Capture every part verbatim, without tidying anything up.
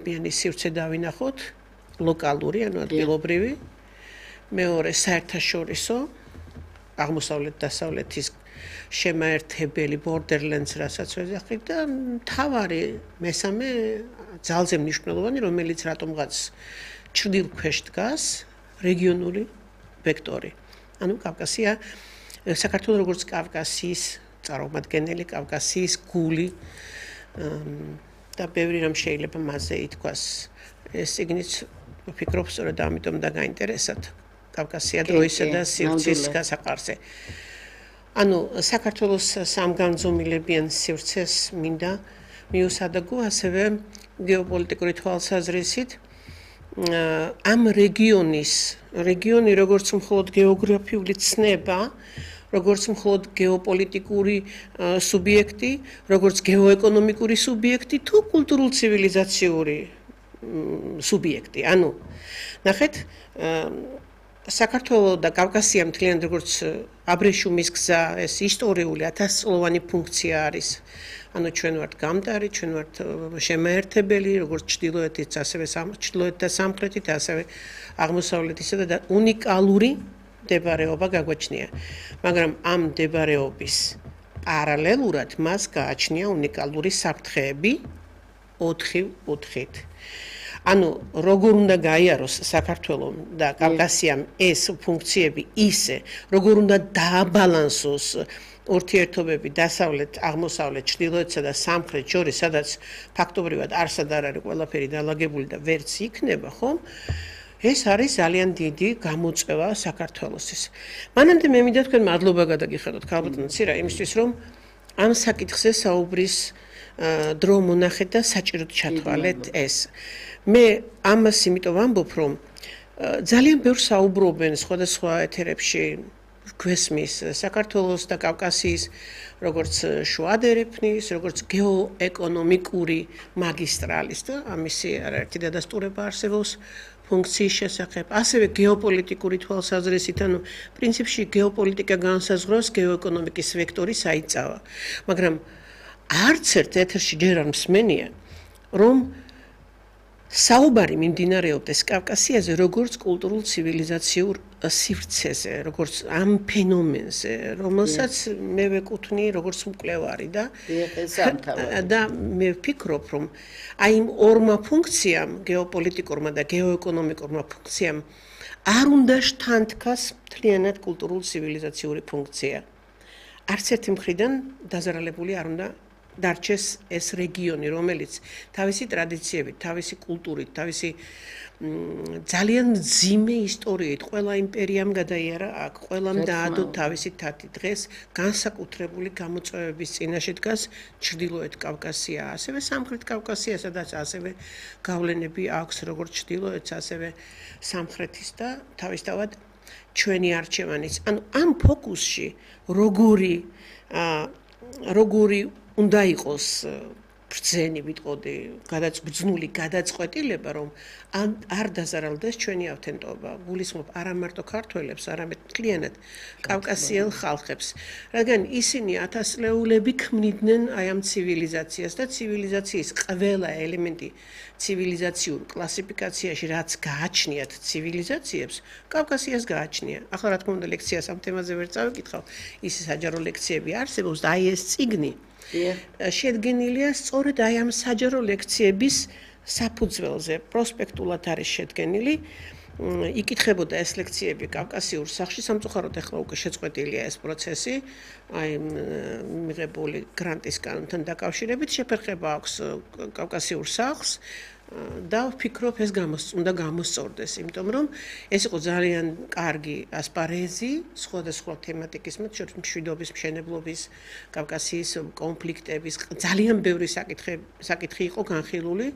ბიანი სივრცე დავინახოთ, ლოკალური, ანუ ადგილობრივი. მეორე საერთაშორისო, აღმოსავლეთ-დასავლეთის შემაერთებელი borderlands რასაც ვეძახით და მთავარი მესამე ძალზე მნიშვნელოვანი, რომელიც რატომღაც ჩრდილქვეშ დგას, რეგიონული ვექტორი. ანუ კავკასია, საქართველოს როგორც კავკასიის წარმომადგენელი, კავკასიის გული და ბევრი რამ შეიძლება მასზე ითქვას. ეს წიგნიც ვფიქრობ, სწორედ ამიტომ და გაინტერესათ კავკასია დროისა და სივრცის გასაყარზე. ანუ საქართველოს სამგანზომილებიან სივრცეს მინდა მიუსადაგო, ასევე გეოპოლიტიკური თვალსაზრისით ამ რეგიონის, რეგიონი როგორც მხოლოდ გეოგრაფიული ცნება, როგორც მხოლოდ გეოპოლიტიკური სუბიექტი, როგორც გეოეკონომიკური სუბიექტი თუ კულტურულ ცივილიზაციური სუბიექტი. ანუ ნახეთ, საქართველოს და კავკასია მთლიანად როგორც აბრეშუმის გზა, ეს ისტორიული ათასწლოვანი ფუნქცია არის. ანუ ჩვენ ვართ გამტარი, ჩვენ ვართ შემაერთებელი, როგორც ჩრდილოეთით, ასევე ჩრდილოეთ და სამხრეთით, ასევე აღმოსავლეთისა და უნიკალური მდებარეობა გაგვაჩნია. მაგრამ ამ მდებარეობის პარალელურად მას გააჩნია უნიკალური საფრთხეები ოთხი კუთხით. ანუ როგორ უნდა გაიაროს საქართველოს და კავკასიამ ეს ფუნქციები ისე, როგორ უნდა დააბალანსოს ურთიერთობები დასავლეთ, აღმოსავლეთ, ჩრდილოეთსა და სამხრეთ შორის, სადაც ფაქტობრივად არსად არ არის ყველაფერი დალაგებული და ვერც იქნება, ხო? ეს არის ძალიან დიდი გამოწვევა საქართველოსის. მანამდე მე მინდა თქვენ მადლობა გადაგიხადოთ ქალბატონო ცირა იმისთვის, რომ ამ საკითხზე საუბრის დრო მონახეთ და საჭიროდ ჩათვალეთ ეს. მე ამას იმიტომ ვამბობ, რომ ძალიან ბევრს საუბრობენ სხვადასხვა ეთერებში გვესმის საქართველოს და კავკასიის როგორც შუადერეფნის, როგორც გეოეკონომიკური მაგისტრალის და ამისი არაერთი დადასტურება არსებობს ფუნქციის შესახებ, ასევე გეოპოლიტიკური თვალსაზრისით, ანუ პრინციპში გეოპოლიტიკა განსაზღვრავს გეოეკონომიკის ვექტორის აიწავა. მაგრამ არც ერთ ეთერში ჯერ არ მსმენია, რომ საუბარი მიმდინარეობდეს კავკასიაზე როგორც კულტურულ ცივილიზაციურ სივრცეზე, როგორც ამ ფენომენზე, რომელსაც მე ვეკუთვნი როგორც მკვლევარი და და მე ვფიქრობ, რომ აი იმ ორმა ფუნქციამ, გეოპოლიტიკურმა და გეოეკონომიკურმა ფუნქციამ არ უნდა შთანთქას მთლიანად კულტურულ ცივილიზაციური ფუნქცია. არც ერთი მხრიდან დაზარალებული არ უნდა დარჩეს ეს რეგიონი, რომელიც თავისი ტრადიციებით, თავისი კულტურით, თავისი ძალიან მძიმე ისტორიით, ყველა იმპერიამ გადაიარა აქ, ყველამ დაადო თავისი თათი. დღეს განსაკუთრებული გამოწვევების წინაშე დგას ჩრდილოეთ კავკასია, ასევე სამხრეთ კავკასია, სადაც ასევე გავლენები აქვს როგორც ჩრდილოეთს, ასევე სამხრეთის და თავისთავად ჩვენი არჩევანიც. ანუ ამ ფოკუსში როგორი როგორი უნდა იყოს ბრძენი ვიტყოდი, გადაწბძნული გადაწყვეტილება, რომ არ დაზარალდეს ჩვენი ავთენტობა. გულისხმობ არა მარტო ქართველებს, არამედ მთლიანად კავკასიელ ხალხებს, რადგან ისინი ათასწლეულები ქმნიდნენ აი ამ ცივილიზაციას და ცივილიზაციის ყველა ელემენტი ცივილიზაციურ კლასიფიკაციაში, რაც გააჩნიათ ცივილიზაციებს, კავკასიას გააჩნია. ახლა რა თქმა უნდა ლექციას ამ თემაზე ვერ წავიკითხავ, ის საჯარო ლექციები არსებობს და აი ეს წიგნი შედგენილია სწორედ აი ამ საჯარო ლექციების საფუძველზე, პროსპექტულად არის შედგენილი. იკითხებოდა ეს ლექციები კავკასიურ სახლში, სამწუხაროდ ახლა უკვე შეწყვეტილია ეს პროცესი, აი მიღებული გრანტის კანონთან დაკავშირებით შეფერხება აქვს კავკასიურ სახლს და ვფიქრობ ეს უნდა გამოსწორდეს, იმიტომ რომ ეს იყო ძალიან კარგი ასპარეზი სხვადასხვა თემატიკის, მათ შორის მშვიდობის, მშენებლობის, კავკასიის კონფლიქტების, ძალიან ბევრი საკითხი საკითხი იყო განხილული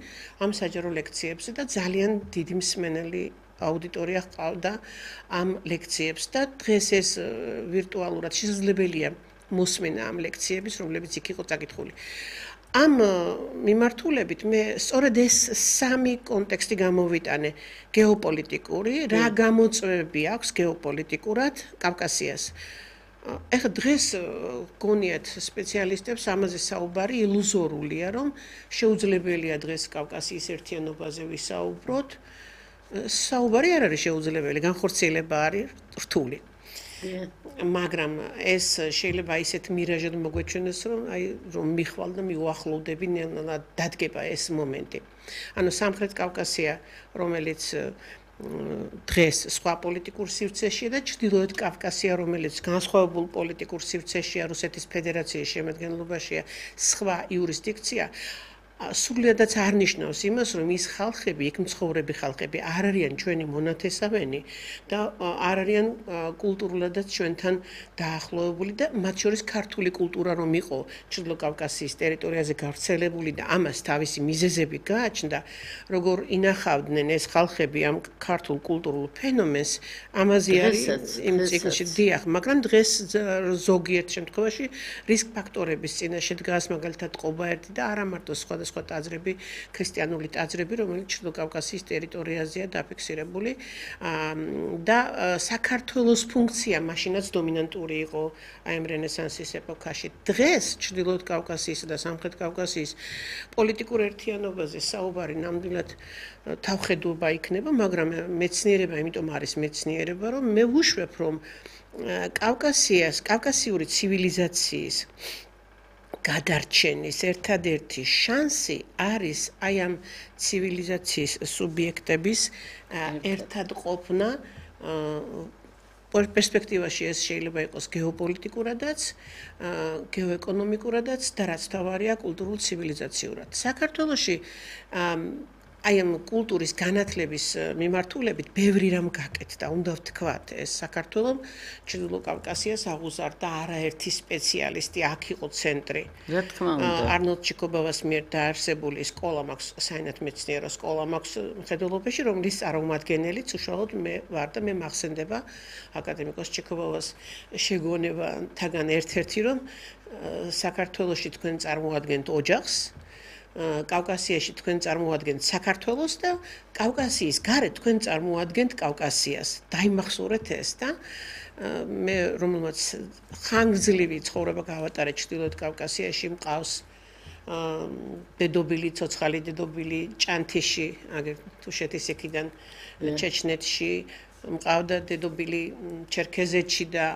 ამ საჯარო ლექციებზე და ძალიან დიდი მსმენელი აუდიტორია ჰყავდა ამ ლექციებს და დღეს ეს ვირტუალურად შესაძლებელია მოსმენა ამ ლექციების, რომლებიც იქ იყო წაკითხული. ამ მიმართულებით მე სწორედ ეს სამი კონტექსტი გამოვიტანე გეოპოლიტიკური, რა გამოწვევები აქვს გეოპოლიტიკურად კავკასიას. ეხლა დღეს გონიათ სპეციალისტებს ამაზე საუბარი ილუზორულია, რომ შეუძლებელია დღეს კავკასიის ერთიანობაზე ვისაუბროთ. საუბარი არ არის შეუძლებელი, განხორციელება არის რთული. მაგრამ ეს შეიძლება ისეთ მირაჟად მოგვეჩვენოს, რომ აი რომ მიხვალ და მიუახლოვდები დადგება ეს მომენტი. ანუ სამხრეთ კავკასია, რომელიც დღეს სხვა პოლიტიკურ სივრცეშია და ჩრდილოეთ კავკასია, რომელიც განსხვავებულ პოლიტიკურ სივრცეშია, რუსეთის ფედერაციის შემადგენლობაშია, სხვა იურისდიქცია, სრულიადაც არ ნიშნავს იმას, რომ ის ხალხები, იქ მცხოვრები ხალხები არ არიან ჩვენი მონათესავენი და არ არიან კულტურულადაც ჩვენთან დაახლოებული და მათ შორის ქართული კულტურა რომ იყო ჩრდილო კავკასიის ტერიტორიაზე გავრცელებული და ამას თავისი მიზეზები გააჩნდა, როგორ ინახავდნენ ეს ხალხები ამ ქართულ კულტურულ ფენომენს, ამაზე არის იმ წიგნში დიახ, მაგრამ დღეს ზოგიერთ შემთხვევაში რისკ ფაქტორების წინაშე დგას, მაგალითად ყობა ერთი და არა მარტო სხვა სხვა ტაძრები, ქრისტიანული ტაძრები, რომელიც ჩრდილო კავკასიის ტერიტორიაზეა დაფიქსირებული და საქართველოს ფუნქცია მაშინაც დომინანტური იყო აი ამ რენესანსის ეპოქაში. დღეს ჩრდილოეთ კავკასიისა და სამხრეთ კავკასიის პოლიტიკურ ერთიანობაზე საუბარი ნამდვილად თავხედობა იქნება, მაგრამ მეცნიერება იმიტომ არის მეცნიერება, რომ მე ვუშვებ, რომ კავკასიას, კავკასიური ცივილიზაციის გადარჩენის ერთადერთი შანსი არის აი ამ ცივილიზაციის სუბიექტების ერთად ყოფნა პერსპექტივაში ეს შეიძლება იყოს გეოპოლიტიკურადაც, გეოეკონომიკურადაც და რაც თავარია კულტურულ ცივილიზაციურად. საქართველოში აი ამ კულტურის განათლების მიმართულებით ბევრი რამ გაკეთდა, უნდა ვთქვათ, ეს საქართველოს ჩრდილო კავკასიას აღუზარდა არაერთი სპეციალისტი, აქ იყო ცენტრი. რა თქმა უნდა. არნოლდ ჩიკობავას მიერ დაარსებული სკოლა მაქვს, საინათმეცნიერო სკოლა მაქვს მხედველობაში, რომლის წარმომადგენელიც უშუალოდ მე ვარ და მე მახსენდება აკადემიკოს ჩიკობავას შეგონებათაგან ერთ-ერთი, რომ საქართველოში თქვენ წარმოადგენთ ოჯახს, კავკასიაში თქვენ წარმოადგენთ საქართველოს და კავკასიის გარეთ თქვენ წარმოადგენთ კავკასიას. დაიმახსოვრეთ ეს და მე რომელმაც ხანგრძლივი ცხოვრება გავატარე ჩრდილოეთ კავკასიაში, მყავს დედობილი, ცოცხალი დედობილი ჭანთიში, აგერ თუშეთის იქიდან ჩეჩნეთში, მყავდა დედობილი ჩერქეზეთში და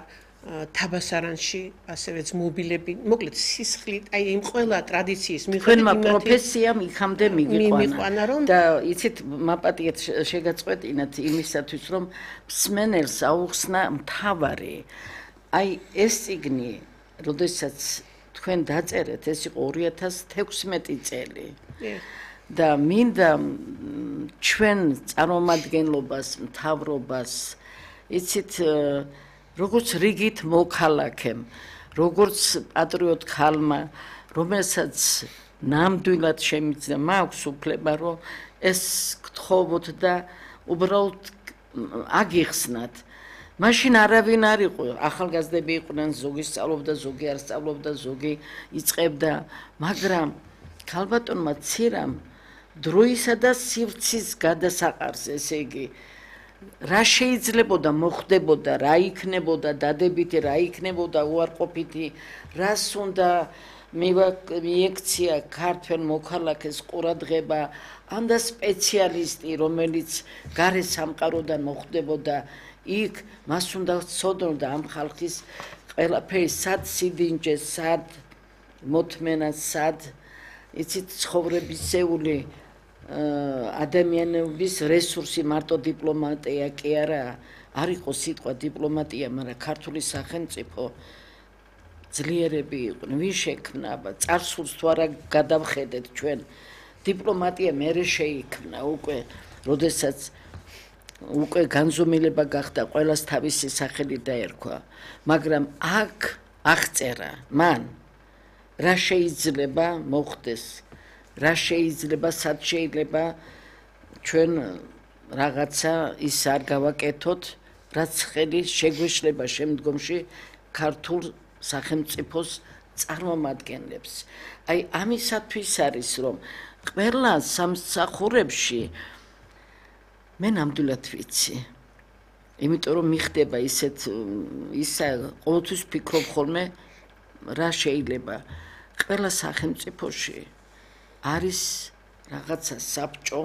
თაბასარანში, ასევე ძმობილები, მოკლედ სისხლით, აი იმ ყველა ტრადიციის მიხედვით თქვენმა პროფესიამ იქამდე მიგიყვანა და იცით, მაპატიეთ შეგაწყვეტინათ იმისათვის, რომ მსმენელს აუხსნა მთავარი. აი ეს წიგნი, როდესაც თქვენ დაწერეთ, ეს იყო ორი ათას თექვსმეტი წელი. და მინდა ჩვენ წარმომადგენლობას, მთავრობას, იცით, როგორც რიგით მოქალაქემ, როგორც პატრიოტ ხალმა, რომელსაც ნამდვილად შემიძლია მაქვს უფლება, რომ ეს გთხოვოთ და უბრალოდ აგიხსნათ. მაშინ არავინ არ იყო, ახალგაზრდები იყვნენ, ზოგი სწავლობდა, ზოგი არ სწავლობდა, ზოგი იწყებდა, მაგრამ ქალბატონმა ცირამ დროისა და სივრცის გადასაყარს, ესე იგი რა შეიძლებოდა მოხდებოდა, რა იქნებოდა დადებითი, რა იქნებოდა უარყოფითი, რას უნდა მიექცია ქართველ მოქალაქეს ყურადღება, ანდა სპეციალისტი, რომელიც გარე სამყაროდან მოხდებოდა, იქ მას უნდა ცოდნოდა ამ ხალხის ყველაფერი, სად სიდინჯე, სად მოთმენა, სად იცით ცხოვრებისეული ადამიანების რესურსი მარტო დიპლომატია კი არა, არ იყო სიტყვა დიპლომატია, მაგრამ ქართული სახელმწიფო ძლიერები იყვნენ, ვინ შექმნა, წარსულს თუ არა გადავხედეთ ჩვენ, დიპლომატია მერე შეიქმნა უკვე, როდესაც უკვე განზომილება გახდა, ყველას თავისი სახელი დაერქვა, მაგრამ აქ აღწერა მან რა შეიძლება მოხდეს, რა შეიძლება, სად შეიძლება ჩვენ რაღაცა ის არ გავაკეთოთ, რაც ხელი შეგვეშლება შემდგომში ქართულ სახელმწიფოს წარმომადგენლებს. აი ამისათვის არის, რომ ყველა სამსახურებში მე ნამდვილად ვიცი, იმიტომ რომ მიხდება ისეთ ისა ყოველთვის ფიქრობ ხოლმე რა შეიძლება ყველა სახელმწიფოში არის რაღაცა საბჭო